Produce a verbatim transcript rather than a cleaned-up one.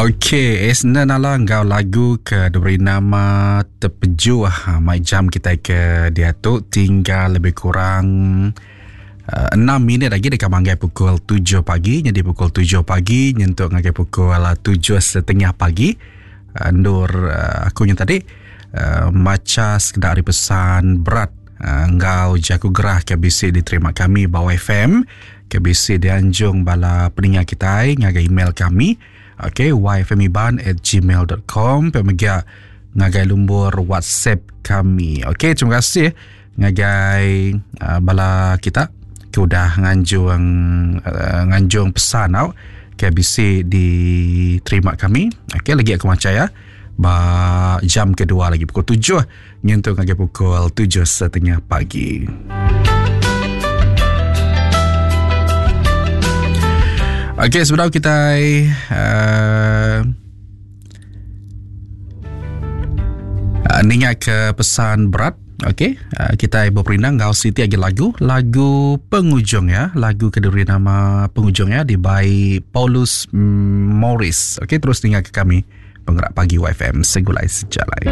Okey, Esna Nala enggau lagu ke diberi nama Tepejuh. Ha, mai jam kita ke diatu tinggal lebih kurang uh, enam minit lagi dekat manggai pukul tujuh pagi. Jadi pukul tujuh pagi nyentuk ngagai pukul tujuh setengah pagi. Uh, Nur uh, aku yang tadi uh, maca sekedar hari pesan berat uh, enggau jaku gerah ke bisi diterima kami bawah F M, ke bisi dianjung bala peningat kita ngagai email kami. Okey, y f m iban at gmail dot com. Pemega ngagai lumbur WhatsApp kami. Okey, terima kasih ngagai uh, bala kita ke udah nganjung uh, nganjung pesan tau ke bisi diterima kami. Okey, lagi aku maca ya. Ba jam kedua lagi pukul tujuh nyentuh ngagai pukul tujuh setengah pagi. Okey, sebelum kita uh, uh, ningat ke pesan berat, okey, uh, kita berperindang ngau Siti lagi lagu, lagu penghujung ya, lagu keduri nama penghujung ya di by Paulus Morris. Okey, terus ningat ke kami Penggerak Pagi Y F M Segulai Sejalai.